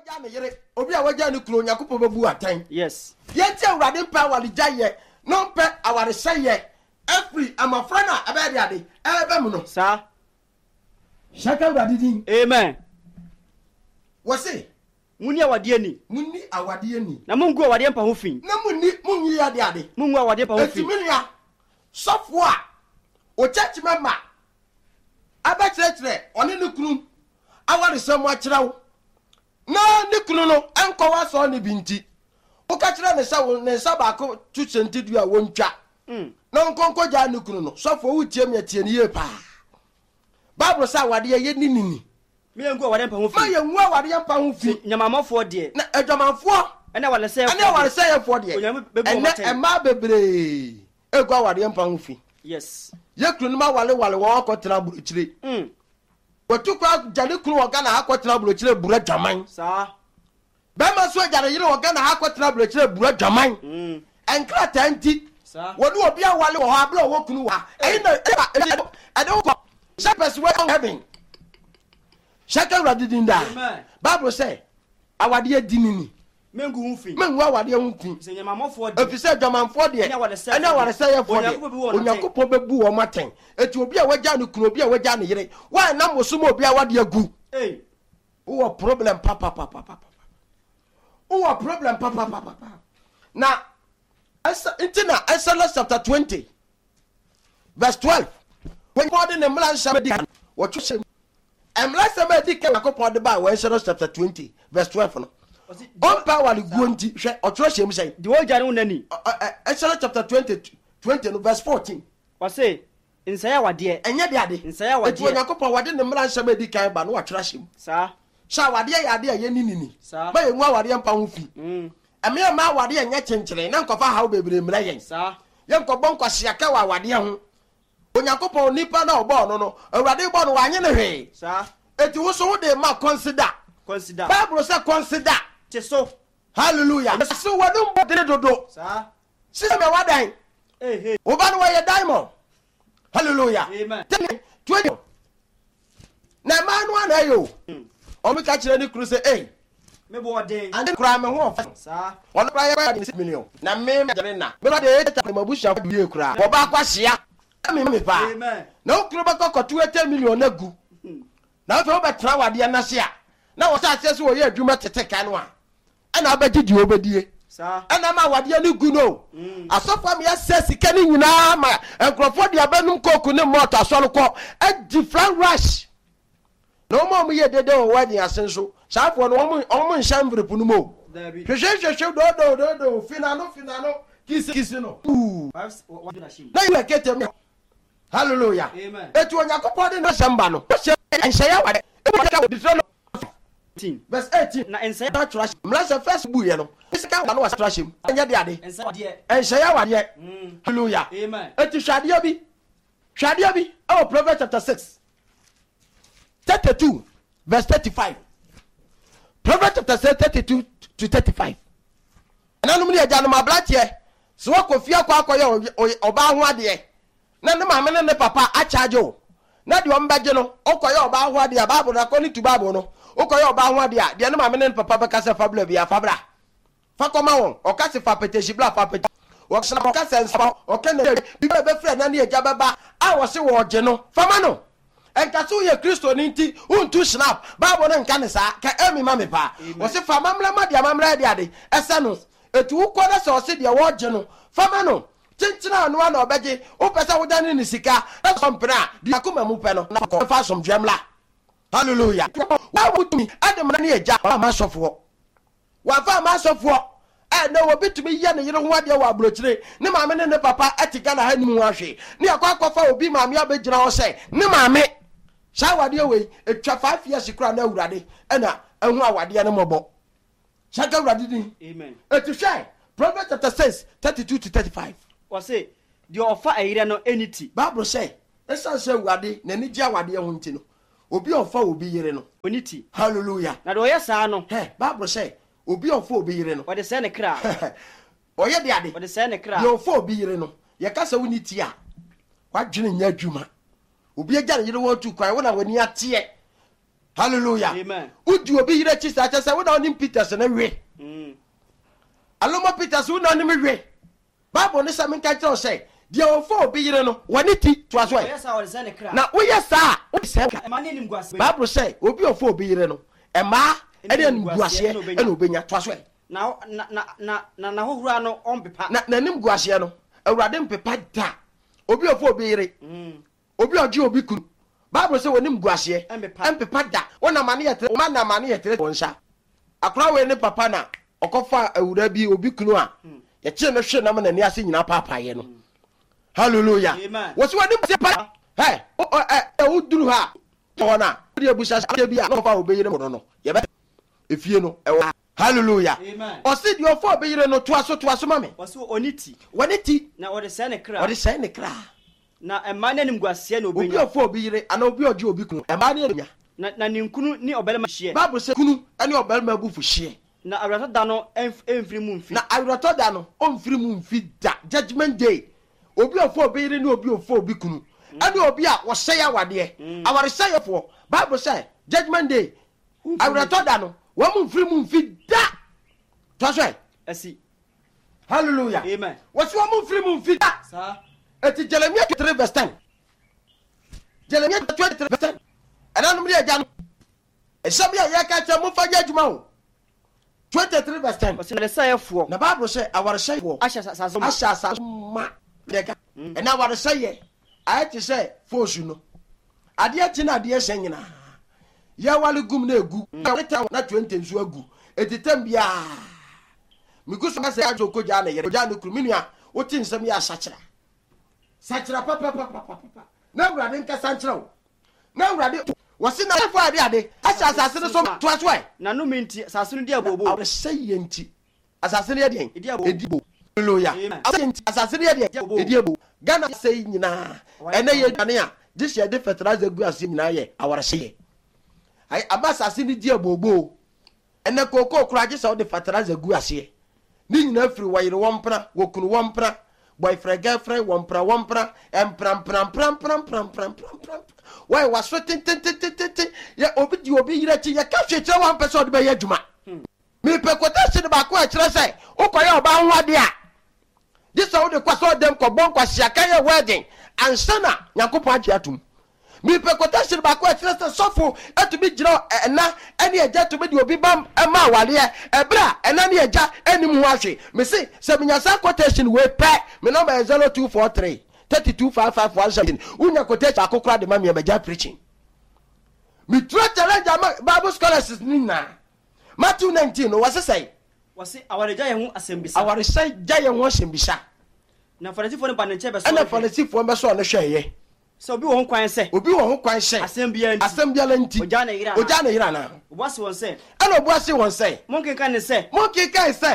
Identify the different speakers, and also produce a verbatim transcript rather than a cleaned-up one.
Speaker 1: wagya ne yere, obi a wagya ne kunu, Onyankopɔn bɛbu atɛn.
Speaker 2: Yes.
Speaker 1: Yɛnti Awurade mpɛ awaregyaeɛ na ɔmpɛ awaresɛeɛ afiri mmɔfra no a ɛbɛyɛ de ade ɛbɛ mu no.
Speaker 2: Saa.
Speaker 1: Hyɛ ka Awurade din.
Speaker 2: Amen.
Speaker 1: Wɔse,
Speaker 2: Munni awadeɛ ni.
Speaker 1: Munni awadeɛ ni.
Speaker 2: Na mungu awadeɛ mpa ho fi.
Speaker 1: Na munni munyi ade ade.
Speaker 2: Mungu awadeɛ mpa ho fi.
Speaker 1: Eti me nua sɔfoɔ a o church member abɛkyerɛkyerɛ ɔne ne kunu awaresɛm akyerɛ wo na ne kunu no nkɔ w'asɔre no bi nti woka kyerɛ ne sɛ wo ne nsa baako to hyɛntidua a wɔntwa
Speaker 2: Mm.
Speaker 1: na ɔnkɔnkɔ gyaa ne kunu no. Sɔfoɔ, wotie me, atie ne yie paa. Bible sɛ awadeɛ yɛ ne nini.
Speaker 2: Mengu awadeɛ mpa ho
Speaker 1: ma
Speaker 2: fi.
Speaker 1: Yɛngu awadeɛ mpa ho fi.
Speaker 2: Nyamamɔfoɔ deɛ
Speaker 1: na adwamanfoɔ
Speaker 2: ɛne awaresɛefoɔ
Speaker 1: ɛne awaresɛeɛfoɔ deɛ,
Speaker 2: Onyame bɛbu wɔn
Speaker 1: ɛnɛ
Speaker 2: atɛn.
Speaker 1: Mmaa bebree egu awadeɛ mpa ho fi.
Speaker 2: Yes.
Speaker 1: Yɛ kunu no ma walewale wɔn akɔtena aburokyire.
Speaker 2: Mm.
Speaker 1: Wɔtu kɔ agya ne kunu wɔ Ghana ha akɔtena aburokyire bura dwaman.
Speaker 2: Saa.
Speaker 1: Bɛrima nso agya ne yere wɔ Ghana ha akɔtena aburokyire bura dwaman.
Speaker 2: Mm.
Speaker 1: Nkrataa nti
Speaker 2: Saa.
Speaker 1: wɔne obi awale wɔ hɔ abere a ɔwɔ kunu wɔ ha. Ɛyi na ɛde ɛde wokɔ shepherds wɔ heaven. Hyɛ ka Awurade din daa.
Speaker 2: Amen.
Speaker 1: Bible sɛ awadeɛ di ne ni.
Speaker 2: Mengu ho fi.
Speaker 1: Mengu awadeɛ ho fi.
Speaker 2: Sɛ nyamamɔfoɔ deɛ
Speaker 1: ɛfiri sɛ adwamanfoɔ deɛ
Speaker 2: ɛne awaresɛefoɔ
Speaker 1: ɛne awaresɛeɛfoɔ deɛ,
Speaker 2: Onyankopɔn bɛbu wɔn atɛn.
Speaker 1: Onyankopɔn bɛbu wɔn atɛn. Eti obi a wagya ne kunu, obi a wagya ne yere, wɔanam wo so ma obi a wade agu,
Speaker 2: Ei.
Speaker 1: wowɔ problem papapapapa, wowɔ problem papapapapa. Na ɛsɛ nti na Exodus chapter twenty verse twelve, wɔn de ne mmara nsɛm di kan wɔtwe hyɛ mu. Mmara nsɛm a edi kan Onyankopɔn de ba wɔ Exodus chapter twenty verse twelve no,
Speaker 2: Ɔse,
Speaker 1: ɔmpa aware guo nti, hwɛ, ɔtwerɛ hyɛ mu sɛn?
Speaker 2: Deɛ ɔgya ne wo nani.
Speaker 1: Ɔ- ɔ- ɛ- Exodus chapter twenty twenty no verse fourteen.
Speaker 2: Ɔse, nsɛe awadeɛ.
Speaker 1: Ɛnyɛ de ade.
Speaker 2: Nsɛe awadeɛ.
Speaker 1: Eti Onyankopɔn wɔde ne mmara nsɛm a edi kan ba no, wɔatwerɛ ahyɛ mu
Speaker 2: Saa.
Speaker 1: sɛ awadeɛ yɛ ade a yɛni nini.
Speaker 2: Saa.
Speaker 1: Ma yɛngu awadeɛ mpa ho fi.
Speaker 2: Mm.
Speaker 1: Ɛmeɛ ma awadeɛ nyɛ kyenkyere na nkɔfa haw bebree mmerɛ yɛn.
Speaker 2: Saa.
Speaker 1: Yɛnkɔbɔ nkwaseaka wɔ awadeɛ ho. Onyankopɔn nipa na ɔbɔɔ no no Awurade bɔ no, wanye ne hwee.
Speaker 2: Saa.
Speaker 1: Eti wo so wode ma consider.
Speaker 2: Consider.
Speaker 1: Bible sɛ consider.
Speaker 2: Te so.
Speaker 1: Hallelujah. So wɔde mbɔ dene dodo
Speaker 2: Saa.
Speaker 1: sisɛ mɛ wadan.
Speaker 2: Hey, hey.
Speaker 1: Wo ba no wɔyɛ diamond. Hallelujah.
Speaker 2: Amen.
Speaker 1: Tell twenty na mmaa no ana ɛyɛ o, ɔmo ka kyerɛ ne kunu sɛ ei,
Speaker 2: Me bɔ ɔden.
Speaker 1: Ade koraa me ho ɔfɛ.
Speaker 2: Saa.
Speaker 1: Ɔno koraa yɛ kɔyɛ six million na me me gyere na me de eight ma busua yie koraa wɔba akɔ ahyia me me paa.
Speaker 2: Amen.
Speaker 1: Na wo kunu bɛkɔ kɔto eighty million na gu na afei wobɛtena wadeɛ n'ase a na wɔhyɛ aseɛ sɛ wɔyɛ adwuma tete ka no a ɛna wobɛgye deɛ wobɛdie.
Speaker 2: Saa.
Speaker 1: Ɛna ma awadeɛ no gu no. Asɔfo ama yɛsɛ sika no nyinaa ma nkurɔfoɔ de abɛnom Coke ne malt asɔre kɔ adi flan rush na wɔn a wɔyɛ dede wɔ wedding ase nso, saafoɔ no wɔn wɔn nhyɛ envelope no mu o.
Speaker 2: Dabi.
Speaker 1: Hwehwɛ hwehwɛ dodo dodo finano finano kisi kisi no.
Speaker 2: Five one na hyɛ mu.
Speaker 1: Na yɛ kete mu. Hallelujah.
Speaker 2: Amen.
Speaker 1: Etu Onyankopɔn de n'asɛm ba no, wɔhyɛ nhyɛyɛ awadeɛ ebi wɔde ka wɔ Deuteronomy
Speaker 2: Eighteen.
Speaker 1: verse eighteen.
Speaker 2: Na nsɛe
Speaker 1: na atwerɛ ahyɛ mmara sɛ first bu yɛ no sika wa no wɔ atwerɛ ahyɛ mu, ɛnyɛ de ade.
Speaker 2: Nsɛe awadeɛ.
Speaker 1: Nhyɛyɛ awadeɛ.
Speaker 2: Mm.
Speaker 1: Hallelujah.
Speaker 2: Amen.
Speaker 1: Eti hwɛ adeɛ bi, hwɛ adeɛ bi ɛwɔ Proverbs chapter six thirty two verse thirty five. Proverbs chapter six thirty two to thirty five. Ɛnanom ne agyanom, aberanteɛ sɛ wakɔ fie akɔ akɔyɛ ɔy- ɔy- ɔbaa ho adeɛ na ne maame ne ne papa akyagye o, na deɛ ɔmbɛgye no, wokɔyɛ ɔbaa ho adeɛ a, Bible no, according to Bible no, wokɔyɛ ɔbaa ho adeɛ a, deɛ ne maame ne ne papa bɛka sɛ fa bra bia, fa bra, fa kɔma wɔn. Ɔka se fa apɛtɛhyi bra, fa apɛtɛhyi. Wɔsena ɔka sɛ nsa ɔka na biribi a ɛbɛfiri ɛna ne agya bɛba a wɔse wɔɔgye no, fama no. Ɛnka sɛ woyɛ Kristoni nti wontu snap. Bible no nka ne saa. Ka ɛmi ma me paa. Wɔse fa amammerɛ ma deɛ amammerɛ de ade ɛsɛ no. Ɛti wokɔ na sɛ ɔse deɛ wɔɔgye no, fama no. Kyenkyena ano a na ɔbɛgye. Wopɛ sɛ wodane ne sika na sɛ ɔmpene a, deɛ akoma mu pɛ no na kɔ fa asomdwoeɛ mmra. Hallelujah. Wotumi ɛde mmara ne agya ama asɔfoɔ, wafa ama asɔfoɔ. Ɛnɛ obi tumi yɛ ne yere ho adeɛ wɔ aburokyire, ne maame ne ne papa ɛte Ghana ha anim ho ahwee, ne akɔ akɔfa obi maame abɛgyina hɔ sɛ ne maame. Saa awadeɛ wei etwa five years koraa na Awurade ɛna ɛho awadeɛ no mmɔbɔ. Hyɛ Awurade din.
Speaker 2: Amen.
Speaker 1: Eti hwɛ Proverbs chapter six thirty two to thirty five.
Speaker 2: Ɔse, deɛ ɔfa ɛyerɛ no ɛni ti.
Speaker 1: Bible sɛ ɛsiane sɛ Awurade n'ani gye awadeɛ ho nti no, obi a ɔfa obi yere no,
Speaker 2: ɔni ti.
Speaker 1: Hallelujah.
Speaker 2: Na deɛ ɔyɛ saa no,
Speaker 1: hɛ, Bible sɛ obi a ɔfa obi yere no,
Speaker 2: ɔde sɛe ne kra.
Speaker 1: Ɔyɛ de ade.
Speaker 2: Ɔde sɛe ne kra.
Speaker 1: Deɛ ɔfa obi yere no, yɛka sɛ woni ti a wadwene nyɛ adwuma. Obi agya ne yere wɔ tu kwan, wo na w'ani ateɛ. Hallelujah.
Speaker 2: Amen.
Speaker 1: Wodi obi yere akyi saa, kyɛ sɛ wona wonim Peters ne we.
Speaker 2: Mm.
Speaker 1: Aloma Peters, wona wonim we. Bible ne sɛ menka kyerɛ wo sɛ deɛ ɔfa obi yere no, wɔne ti toa so ɛ.
Speaker 2: Ɔyɛ saa, ɔde sɛ ne kra.
Speaker 1: Na woyɛ saa a, wode sɛ
Speaker 2: ɛma ne animguaseɛ.
Speaker 1: Bible sɛ obi a ɔfa obi yere no, ɛmaa ɛne animguaseɛ ɛna obɛnya. Toa so ɛ.
Speaker 2: Na na na na na n'ahohora no ɔmpepa.
Speaker 1: Na n'anim guaseɛ no, Awurade mpepa da. Obi a ɔfa obi yere,
Speaker 2: Mm.
Speaker 1: obi a ɔgye obi kunu, Bible sɛ wɔnim guaseɛ
Speaker 2: ɛmpepa.
Speaker 1: Ɛmpepa da. Wonam ane yɛ tere ma nam ane yɛ tere wɔn nsa. Akora wei ne papa na ɔkɔfa awura bi obi kunu a yɛkyee no hwe nam n'ani ase nyinaa paapaeɛ no. Hallelujah.
Speaker 2: Amen.
Speaker 1: Wɔsi wɔnim guaseɛ pa ɛ ɛ ɛ woduru ha hɔ no a, wode abusa sɛ bi a na ɔfa obi yere no no yɛbɛ efie no ɛwɔ. Hallelujah.
Speaker 2: Amen.
Speaker 1: Ɔsi deɛ ɔfa obi yere no, toa so, toa so ma me.
Speaker 2: Ɔse ɔne ti.
Speaker 1: Wɔne ti.
Speaker 2: Na ɔde sɛ ne kra.
Speaker 1: Ɔde sɛe ne kra.
Speaker 2: Na ɛma ne animguaseɛ na
Speaker 1: obi
Speaker 2: obɛnya.
Speaker 1: A ɔfa obi yere anaa obi a ɔgye obi kunu, ɛmaa ne anya.
Speaker 2: Na na ne nkunu ne ɔbarima hyeɛ.
Speaker 1: Bible sɛ kunu ne ɔbarima abufu hyeɛ.
Speaker 2: Na awerɛtɔ da no ɛmf- ɛmfiri mu mfi.
Speaker 1: Na awerɛtɔ da no, ɔmfiri mu mfi da. Judgment day, obi a ɔfa obi yere ne obi a ɔfa obi kunu ɛne obi a wɔsɛe awadeɛ, awaresɛefoɔ, Bible sɛ judgment day, awerɛtɔ da no, wɔn mu mfiri mu mfi da. Toa so ɛ.
Speaker 2: Asi.
Speaker 1: Hallelujah.
Speaker 2: Amen.
Speaker 1: Wɔsi wɔn mu mfiri mu mfi da.
Speaker 2: Saa.
Speaker 1: Eti Jeremia twenty three verse ten, Jeremia twenty three verse ten, ɛnanom ne agya no ɛsɛm yi a yɛka kyerɛ momfa nyɛ adwuma o. Twenty three verse ten.
Speaker 2: Ɔse awaresɛefoɔ
Speaker 1: Na Bible sɛ awaresɛefoɔ
Speaker 2: ahyɛ asase ma.
Speaker 1: Ahyɛ asase ma yɛka. Ɛna awaresɛeɛ ayɛ te sɛ foosu no, adeɛ kye na adeɛ hyɛ nyinaa yɛwale gum na egu na twenty nso agu. Eti tɛm biara megu so sɛ adwo kogya ne yere, kogya ne kunu. Me nua, wote nsɛm yɛ asakyera, sakyera papapapapapa na Awurade nkasa nkyerɛ wo. Na Awurade wɔsi na ɛfɔ ade ade ahyɛ asase no so. Toa so ɛ.
Speaker 2: Na nnome nti asase no di abooboo.
Speaker 1: Awaresɛeɛ nti asase no yɛ deɛn?
Speaker 2: Ɛdi abooboo.
Speaker 1: Ɛdi bo. Hallelujah.
Speaker 2: Amen.
Speaker 1: Awaresɛeɛ nti asase no yɛ deɛn?
Speaker 2: Ɛdi
Speaker 1: ɛdi ebo. Ghana sɛ yi nyinaa, ɛnɛ yɛ aduane a gye sɛ yɛde fertilizer gu aseɛ nyinaa yɛ awaresɛeɛ. Ayɛ ama asase no di abooboo. Ɛnɛ kookoo koraa, gye sɛ wode fertilizer gu aseɛ. Ne nyinaa firi wɔyere wɔn mpena, wɔkunu wɔn mpena, boyfriend girlfriend, wɔn mpena wɔn mpena, mpena mpena mpena mpena mpena mpena mpena mpena. Wɔyɛ waso tentententente yɛ obi di obi yere akyi. Yɛka hwee kyerɛ wɔn mpɛ sɛ ɔde bɛyɛ adwuma. Mepɛ quotation baako a ɛkyerɛ sɛ wokɔyɛ ɔbaa ho adeɛ a, gye sɛ wode kɔ sɛ ɔdɛm kɔbɔ nkwasiaka yɛ wedding ansa na Nyankopɔn agye atom. Mepɛ quotation baako a ɛkyerɛ sɛ sɔfo atumi gyina ɛna ɛne agya tumi de obi ba ma awareɛ ɛberɛ a ɛna ne agya anim ho ahwe. Mese sɛ menya saa quotation wei pɛ, me number yɛ zero two four three thirty-two five five one seven. Wonya quotation baako koraa de ma me a, magya preaching. Metura challenge ama Bible scholars no nyinaa. Matthew nineteen no, wɔse sɛe?
Speaker 2: Wɔse awaregya yɛn ho asɛmbisa.
Speaker 1: Awaresɛ gya yɛn ho asɛmbisa.
Speaker 2: Na Farisifoɔ no ba ne nkyɛn bɛsɔ
Speaker 1: ɛna
Speaker 2: no hwɛ.
Speaker 1: Farisifoɔ bɛsɔɔ no hwɛeɛ.
Speaker 2: Sɛ obi wɔ ho kwan sɛ
Speaker 1: obi wɔ ho kwan sɛ
Speaker 2: asɛm biara nti
Speaker 1: asɛm biara nti
Speaker 2: ogyaa ne yere anaa?
Speaker 1: Ogyaa ne yere anaa?
Speaker 2: Ɔbua se wɔn sɛ
Speaker 1: Ɛna ɔbua se wɔn sɛ
Speaker 2: monkenka ne sɛ
Speaker 1: monkenkae sɛ